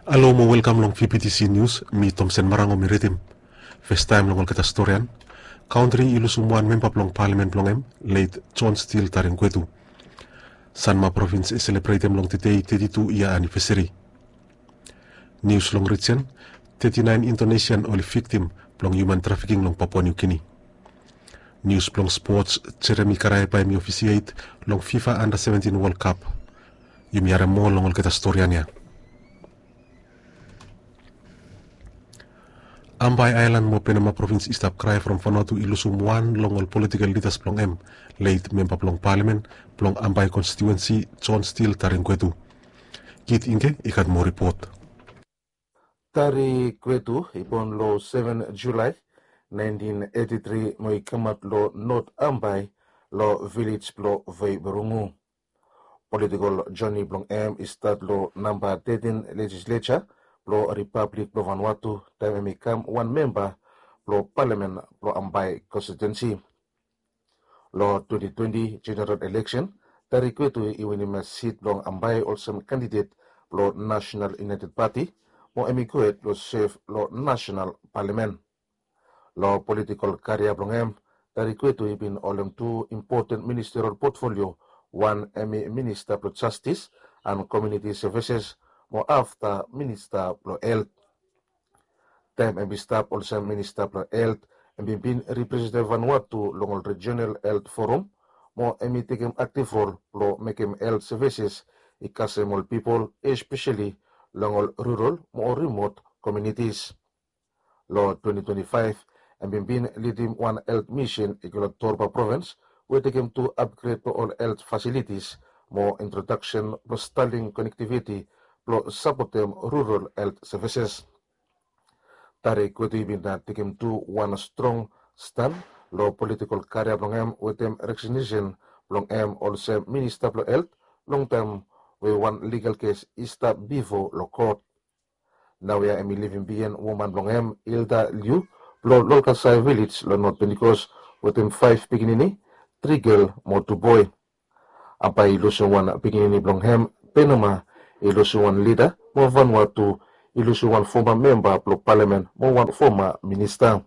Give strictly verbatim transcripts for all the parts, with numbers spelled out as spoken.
Halo mo welkam long V B T C Nius, mi Tomsen Marango mi ridim. Festaem long olgeta storian. Kantri i lusum wan memba blong palamen blong hem, leit John Steele Taringwetu. Sanma provins i selebretem long tedei teti tu yia anivesari. Nius long rijen, teti naen Indonesian oli viktim blong hiuman trafiking long Papua Niu Gini. Nius blong spots, Jeremi Karae bae mi ofisiet long FIFA Anda Seventin Wol Kap. Yumi harem moa long olgeta storian ya. Ambae aelan mo Penama provins i stap krae from Vanuatu i lusum wan long ol politikel lidas blong hem, leit memba blong palamen blong Ambae konstitiuensi, John Steele Taringwetu. Kit Ingge i gat moa ripot. Taringwetu i bon long seven Julae naentin eti tri mo i kamaot long Not Ambae long vilej blong Veiburungu. Politikol joni blong hem i stat long namba tetin lejisleja blong Ripablik blong Vanuatu taem hem i kam wan memba blong palamen blong Ambae konstitiuensi. Long twenti twenti jeneral eleksen, Taringwetu i winim sit blong Ambae olsem kandidet blong Nasenal Iunaeted Pati mo hem i gohed long sef long Nasenal Palamen. Long politikol karia blong hem, Taringwetu i bin holem tu impoten ministerial potfolio, wan hem i minista blong jastis and komuniti sevises mo afta minista blong helt. Taem hem i stap olsem minista blong helt, hem i bin representem Vanuatu long ol rijenal helt forum mo hem i tekem aktiv rol blong mekem helt sevises i kasem ol pipol, espeseli long ol rural mo ol rimot komunitis. Long twenti twenti faef, hem bin bin lidim wan helt misin i go long Torba provins we i tekem tu apgred blong ol helt fasilitis mo introdaksen blong Starlink konektiviti blong sapotem rural helt sevises. Taringwetu i bin tekem tu wan strong stan long politikol karia blong hem wetem rekognisen blong hem olsem minista blong helt, longtaem we wan ligal kes i stap bifo long kot. Naoia hem i livim biaen woman blong hem, Hilda Liu, blong Lolkasai vilej long Not Pentikos, wetem faef pikinini, tri gel mo tu boe. Ambae i lusum wan pikinini blong hem, Penama i lusum wan lida, mo Vanuatu i lusum wan foma memba blong palamen mo wan foma minista.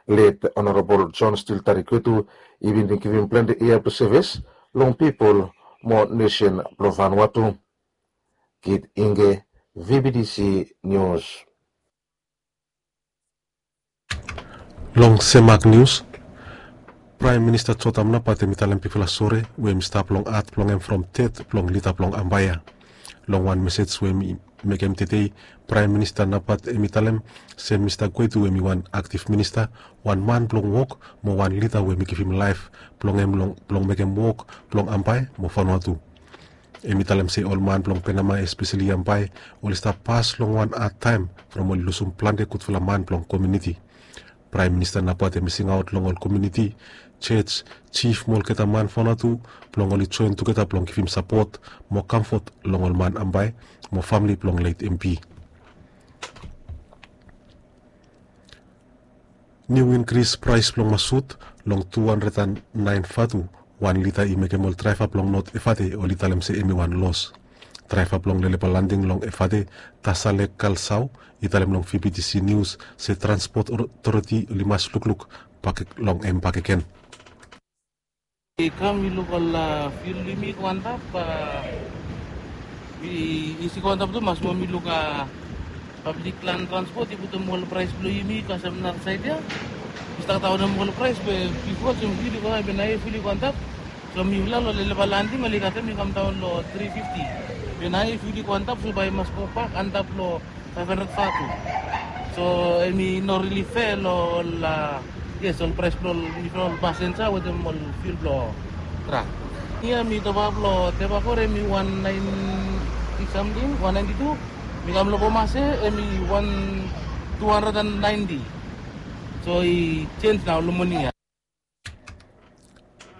Let Honorabol John Steele Taringwetu i bin givim plante yia blong sevis long pipol mo nesen blong Vanuatu. Kit Ingge, V B T C Nius. Long Semak Nius, Praem Minista Jotam Napat hem i talem bigfala sore we hem i stap long hat blong hem from ded blong lida blong Ambae ya. Long wan mesej we hem i mekem tedei, Praem Minista Napat hem i talem se Mista Gwetu hem i wan aktiv minista, wan man blong wok mo wan lida we hem i givim laef blong hem long blong mekem wok blong Ambae mo Vanuatu. Hem i talem se ol man blong Penama, espeseli Ambae, oli stap pas long wan hadtaem from oli lusum plante gudfala man blong komuniti. Praem Minista Napat hem i singaot long ol komuniti, jos, jif mo olgeta man Vanuatu blong oli joen tugeta blong givim sapot mo kamfot long ol man Ambae mo famle blong let M P. Niu inkris praes blong masut long tu handred and naen vatu wan lita i mekem ol draeva blong Not Efate oli talem se hem i wan los. Draeva blong Lelepa Landing long Efate, Tasale Kalsao, i talem long V B T C Nius se transpot otoriti oli mas lukluk bak long hem bakegen. I kam i luk ol fiul blong yumi i go antap, a, i isi go antap tu mas mo mi luk, a, pablik lan transpot i putum ol praes blong yumi kasem narasaed ya. I stap daonem ol praes be bifo olsem fiul i go antap, be naoia fiul i go antap. So mifala long Lelepa Landing oli kasem i kam daon long tri fifti. Be naoia fiul i go antap, so bae i mas go bak antap long faef handred vatu. So hemi no rili fea long ol, a, yes, ol praes blong ol, ol pasenja wetem ol fiul blong trak. Ia mi topap long Tebakor hemi wan naenti samting, wan naenti tu. Mi kam long Pomase hemi wan tu handred and naenti. So i jenis nao long moning ia.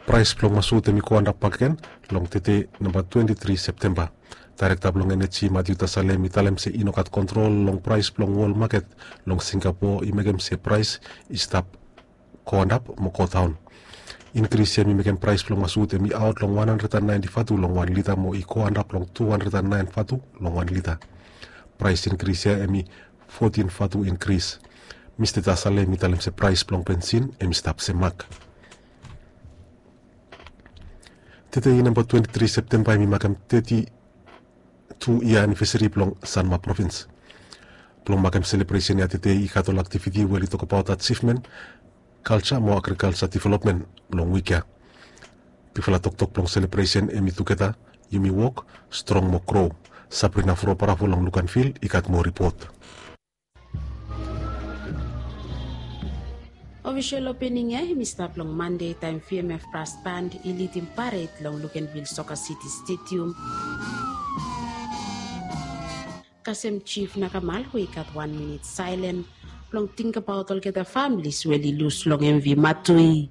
Praes blong masut hemi go antap bakegen long tede namba twenti tri Septemba. Daerekta blong eneji Matiu Tasale hemi talem se i no gat kontrol long praes blong wol maket long Singapo i mekem se praes i stap go antap mo go daon. Inkris ya hemi mekem praes blong masut hemi aot long wan handred and naenti vatu long wan lita mo i go antap long tu handred and naen vatu long wan lita. Praes inkris ya hemi fotin vatu inkris. Mista Tasale hemi talem se praes blong bensin hemi stap se mak. Tedei namba twenti tri Septemba hemi makem teti tu yia anivesari blong Sanma provins. Blong makem selebresen ya tedei i gat ol aktiviti we oli tokbaot ajivmen, kalja mo agrikalja developmen blong wik ya. Bigfala toktok blong selebresen hemi tugeta yumi wok strong mo gro. Sabrina Frobarafo long Luganvil i gat moa ripot. Ofisol opening ya hemi stap long Mande taem V M F Brass Band i lidim pared long Luganvil Soccer City Stadium. Kasem Jif Nakamal we i gat wan minit saelen blong tingbaot olgeta familis we oli lus long M V Matui.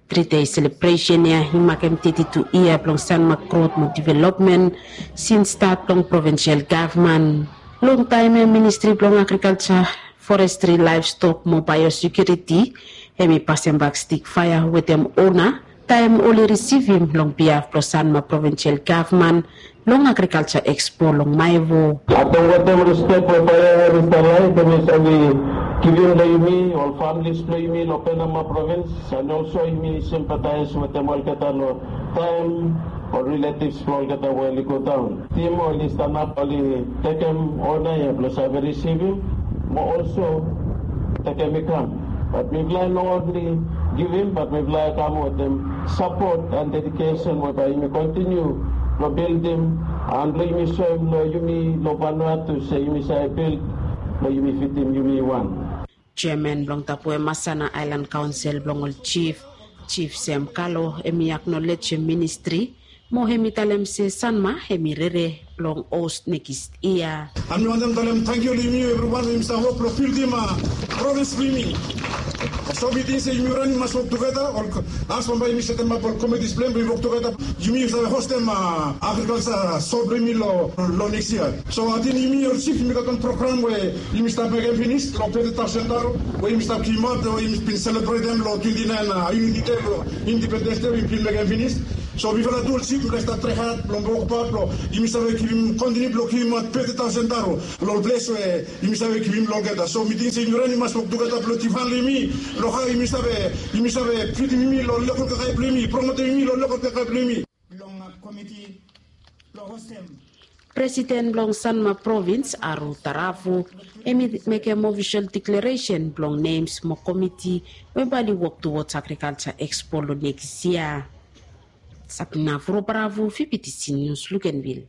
Tri dei selebresen ya i makem teti tu yia blong Sanma grot mo developmen sins stat blong provinsel gavman. Longtaem ya Ministri blong Agrikalja, Forestri, Laevstok mo Baeosekiuriti hemi pasembak stik faea wetem ona taem oli risivim long biaf blong Sanma provinsel gavman long agrikalja ekspo long Maevo. Ating wetem rispek we Baea Heris Dalai hemi save givim long yumi ol familis blong yumi long Penama provins, and also yumi simpataes wetem olgeta long taem ol riletivs blong olgeta we oli godaon. Tim oli stanap oli tekem ona ya blong save risivim mo also tekem i kam. Bat mifala i no onli givim, bat mifala i kam wetem sapot and dedikesen we bae yumi kontiniu long bildim and blong yumi soem long yumi long Vanuatu se yumi save bil blong yumi fidim yumi wan. Jeaman blong Tupou Masana Aelan Kaonsel blong ol Jif, Jif Sem Kalo, hemi aknolejem ministri mo hemi talem se Sanma hemi rere blong hos nekis yia. Ami wantem talem tangkiu long yumi evriwan we yumi stap wok blong bildim provins blong yumi. So mi ting se yumi ran i mas wok tugeta, ol as bambae yumi setemap ol komitis blong hem blong yumi wok tugeta, yumi save hostem agrikalja so blong yumi long nekis yia. So ating yumi ol Jif yumi gat wan program we yumi stap mekem finis long teti taosen dalo we yumi stap givimaot we yumi bin selebretem long twenti naen Uniti Dei blong Indipendens Dei we yumi bin mekem finis. So mifala tu ol Jif mifala i stap trae had blong wokbaot blong yumi save givim kontiniu blong givimaot teti taosen dalo long ol ples we yumi save givim long olgeta. So mi ting se yumi ran i mas wok tugeta blong difaen long yumi long hao yumi save, yumi save fidim yumi long lokol kakae blong yumi, promotem yumi long lokol kakae blong yumi. Long komiti blong hostem. Presiden blong Sanma provins Aru Taravu hemi mekem ofisol deklaresen blong nems mo komiti we bae oli wok tuwods agrikalja ekspo long nekis yia. Sabrina Frobarafo, V B T C News, Luganvil.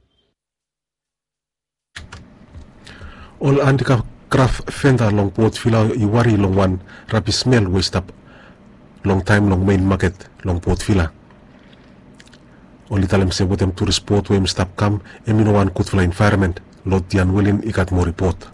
Ol andikraf venda long Port Vila i wari long wan rabis smel we i stap longtaem long mein maket long Port Vila. Oli talem se wetem turis bot we hemi stap kam, hemi no wan gudfala envaeronmen. Lodian Welin i gat moa ripot.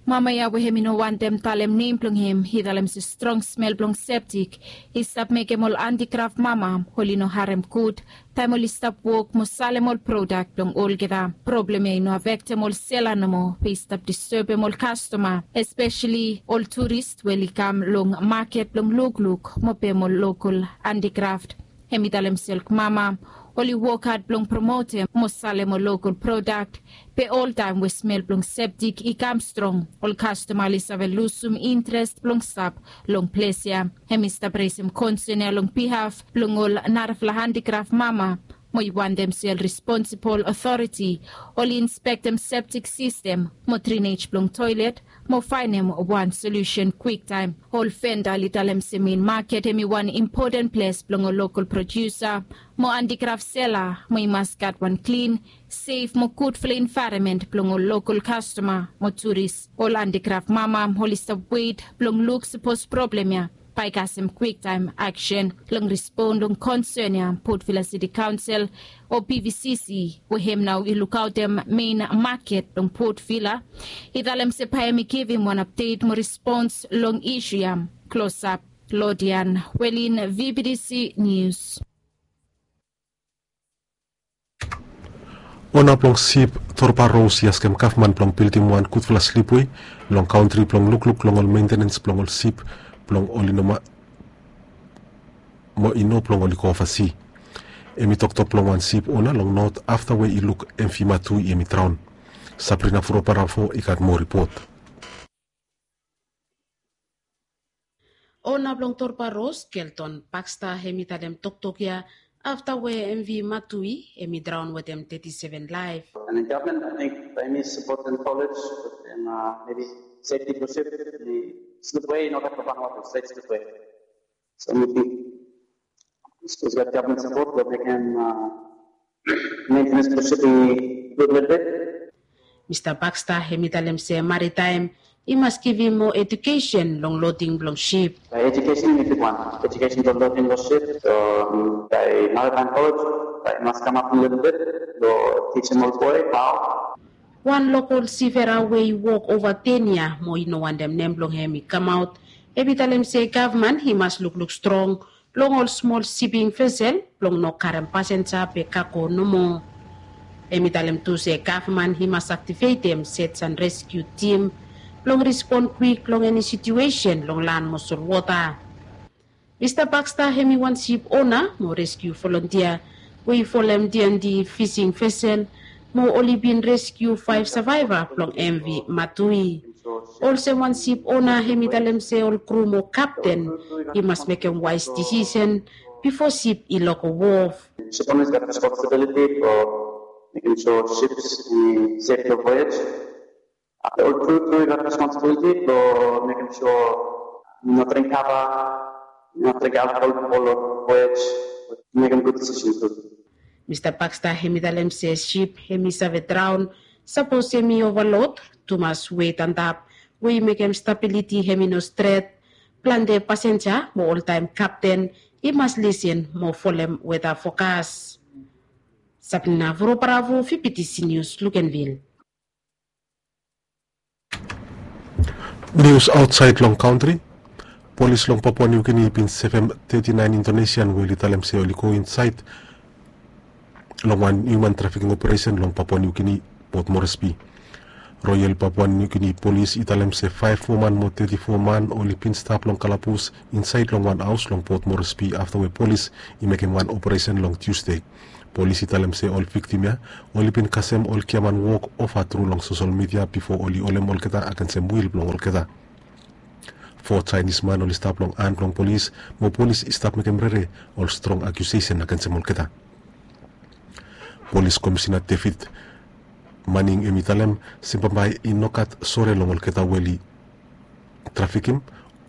Mama ya we hemi no wantem talem nem blong hem i talem se strong smel blong septik i stap mekem ol andikraf mama oli no harem gud taem oli stap wok mo salem ol prodak blong olgeta. Problem ya i no afektem ol sela nomo, be i stap disturbem ol kastoma, espeseli ol turis we oli kam long maket blong lukluk mo pem ol lokol andikraf. Hemi talem se ol mama oli wok had blong promotem mo salem ol lokol prodak, be oltaem we smel blong septik i kam strong, ol kastoma oli save lusum interes blong stap long ples ya. Hemi stap resem konsen ya long bihaf blong ol narafala andikraf mama mo i wantem se ol responsibol otoriti oli inspektem septik sistem mo drinej blong toelet mo faenem wan solusen kwiktaem. Ol venda oli talem se mein maket hemi wan impoten ples blong ol lokol prodiusa mo andikraf sela mo i mas gat wan klin, sef mo gudfala envaeronmen blong ol lokol kastoma mo turis. Ol andikraf mama oli stap wet blong luk sapos problem ya bae i kasem kwiktaem aksen. Long respon long konsen ya, Port Vila Siti Kaonsel o P V C C we hem nao i lukaotem mein maket long Port Vila i talem se bae hem i givim wan apdet mo respons long isu ya. Klosap, Lodian Welin, V B T C Nius. Ona blong sip Torba Ros i askem gavman blong bildim wan gudfala slipwe long kantri blong lukluk long ol mentenens blong ol sip blong oli no ma mo i no blong oli go ovasi. Hemi toktok blong wan sip ona long not afta we i luk M V Matui hemi draon. Sabrina Furoparafo i gat moa ripot. Ona blong Torpa Ros, Kelton Baxter, hem i talem toktok ya afta we M V Matui hem i draon wetem teti seven laef. And the government, I think, they need support in college and uh, maybe safety for ship. The slipway, not that one water, safe slipway. So we think it's got government support that they can uh, maintenance for shipping good little bit. Mista Baxter hem i talem se maritaem i mas givim moa ejukesen long loding blong sip. Education is a big one. Education for loading the ship. So um, by maritime college, they must come up a little bit. So teach them all boy how. Wan lokol sifera we i wok ova ten yia mo i no wantem nem blong hem i kamaot, hem i talem se gavman i mas lukluk strong long ol smol siping vesel blong no karem pasenja be kago nomo. Hem i talem tu se gavman i mas aktivetem search and rescue tim blong respon kwik long eni situesen long lan mo solwota. Mista Baxter hem i wan sip ona mo reskiu volontia we i folem D and D fising vesel mo oli bin reskiu faef savaiva blong M V Matui. Olsem wan sip ona hem i talem se ol kru mo kapten i mas mekem waes disisen bifo sip i loko wof. Ship owners got responsibility for making sure ships in safe voyage. After all crew, crew got responsibility for making sure not drink kava, not drink alcohol before voyage, making good decisions too. Mista Baxter hem i talem se sip hem i save draon sapos hem i ovalod, tumas wet antap we i mekem stabiliti hem i no stret, plante pasenja mo oltaem kapten i mas lisin mo folem weta fokas. Sabrina Voroparavo, V P T C News, Luganville. Nius aotsaed long kantri. Polis long Papua Niu Gini i bin sevem teti naen Indonesian we oli talem se oli go insaed long wan hiuman trafiking operesen long Papua Niu Gini, Port Moresby. Royal Papua Niu Gini Polis i talem se faef woman mo teti fo man oli bin stap long kalabus insaed long wan haos long Port Moresby afta we polis i mekem wan operesen long Tusde. Polis i talem se ol viktim ya oli bin kasem ol giaman wok ova tru long sosel midia bifo oli holem olgeta agensem wil blong olgeta. Fo Jaenis man oli stap long han blong polis, mo polis i stap mekem rere ol strong akiusesen agensem olgeta. Polis Komisina David Manning hem i talem se bambae i no gat sore long olgeta we oli trafikim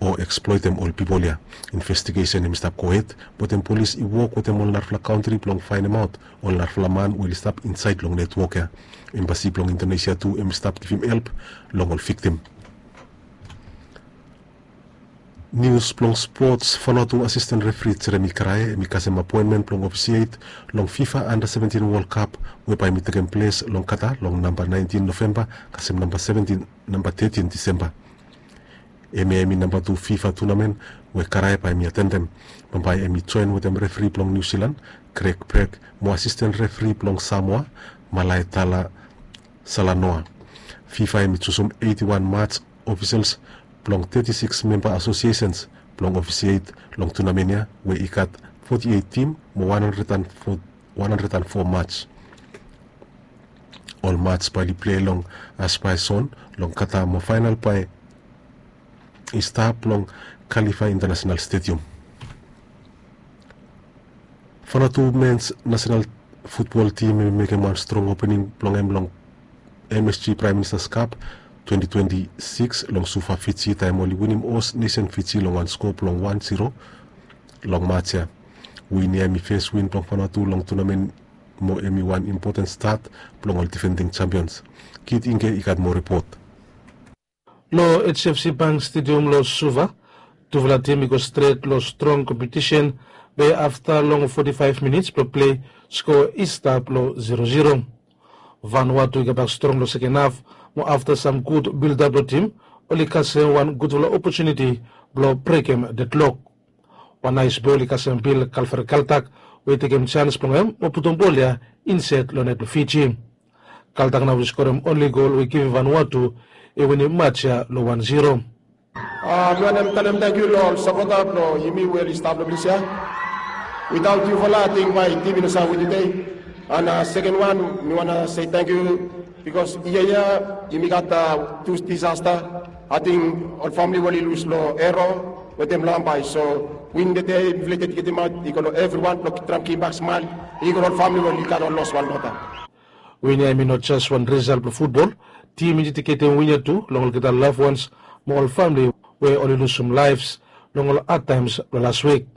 o eksploetem ol pipol ya. Investigesen hem i stap gohed, wetem polis i wok wetem ol narafala kantri blong faenemaot ol narafala man we oli stap insaed long netwok ya. Embasi blong Indonesia tu hem i stap givim help long ol viktim. Nius blong spots. Vanuatu asisten refri Jeremy Karae hem i kasem apoenmen blong ofisiet long FIFA Under seventeen World Cup we bae hem i tekem ples long Qatar long namba naentin Novemba kasem namba seventin, namba tetin Disemba. Hemia hem i namba tu FIFA tunamen we Karae bae hem i atendem. Bambae hem i joen wetem refri blong Niu Silan, Craig Bragg, mo asisten refri blong Samoa, Malae Tala Salanoa. FIFA hem i jusum eiti wan mats ofisels blong teti sikis memba asosiesens blong ofisiet long tunamen ya we i gat foti eit tim mo wan handred and fo, wan handred and fo mats. Ol mats bae oli plei long Asbai Zon long Qatar mo faenal bae i stap long Khalifa International Stadium. Vanuatu mens nasenal futbol tim hem i mekem wan strong opening blong hem long M S G Prime Minister's Cup twenty twenty-six long Suva, Fiji, taem oli winim Host Nation Fiji long wan skoa blong wan zero long mats ya. Win ya hem i fes win blong Vanuatu long tunamen mo hem i wan impoten stat blong ol difending champions. Kit Ingke i gat moa ripot. Long H F C Bank Stadium long Suva, tufala tim i go stret long strong kompetisen be afta long foti faef minits blong plei, skoa i stap long zero zero. Vanuatu i gobak strong long seken haf mo afta sam gud bildap blong tim, oli kasem wan gudfala opotuniti blong brekem dedlok. Wan naes bol i kasem Bill Kalfer Kaltak we i tekem jans blong hem mo putum bol ya insaed long net blong Fiji. Kaltak nao i skorem onli gol we i givim Vanuatu i winim mats ya long wan zero. Mi wantem talem tangkiu long ol sapota blong yumi we oli stap long ples ya. Witaot yufala ating bae tim i no save win tede. And seken wan, mi wantem se tangkiu bikos yia ya yumi gat tu disasta. Ating ol famili we oli lus long ero wetem lambai. So win tede mifala i dediketim aut i go long evriwan blong traem givimbak smael i go long ol famili we oli gat ol loswan long olgeta. Win ya hemi no jes wan risal blong futbol. Tim i dediketim win ya tu long olgeta loved ones mo ol famili we oli lusum laefs long ol hadtaems blong las wik.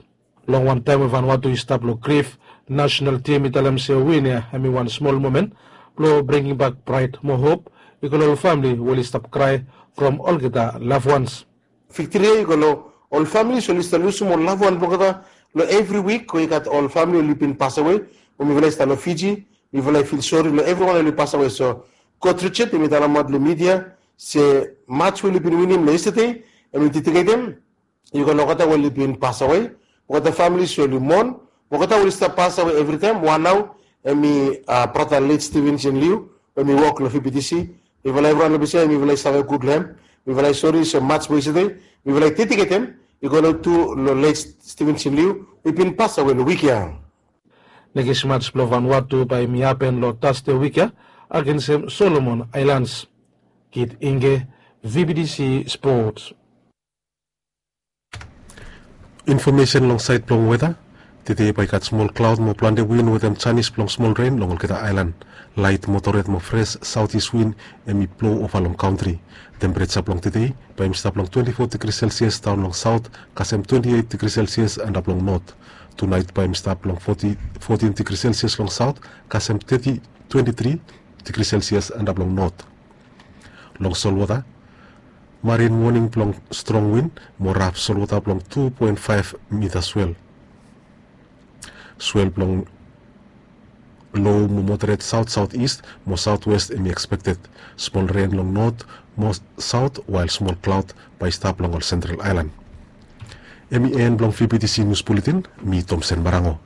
Long wantaem we Vanuatu i stap long grif, nasenal tim i talem se win ya hemi wan smol momen blong bringimbak praed mo hop i go long ol famili we oli stap krae from olgeta loved ones. Viktri ya i go long ol familis we oli stap lusum ol loved one blong olgeta long evri wik we i gat ol famili we oli bin pasawe. We mifala i stap long Fiji, mifala i fil sori long evriwan we oli pasawe. So God Richard hemi talemaot long midia se mats we oli bin winim long yestade hemi dediketem i go long olgeta we oli bin pasawe, olgeta familis we oli mon, olgeta we oli stap pasawe evritaem. Wan nao hemi brata let Stevenson Liu we hemi wok long V B T C. Mifala evriwan long ples ya mifala i save gud long hem. Mifala i sori se mats we yestade mifala i dediketem i go long tu long let Stevenson Liu we i bin pasawe long wik ya. Nekis mats blong Vanuatu bae hemi hapen long Tasde wik ya agensem Solomon Aelans. Kit Inge, V B T C Sports. Infomesen long saed blong weta. Tede bae i gat smol klaod mo plante win wetem janis blong smol ren long olgeta aelan. Laet moderate mo fres saotis win hemi blou ova long kantri. Tempereja blong tede bae hemi stap long twenti fo digri selsias daon long saot kasem twenti eit digri selsias antap long not. Tunaet bae hemi stap long fotin digri selsias long saot kasem teti twenti tri digri selsias antap long not. Long solwota, marin woning blong strong win mo raf solwota blong tu poen faef mita swel. Swel blong lou mo moderet saot saot ist mo saot west hemi ekspekted. Smol ren long not mo saot wael smol klaod bae i stap long ol sentral aelan. Hemi en blong V B T C nius buletin. Mi Tomsen Marango.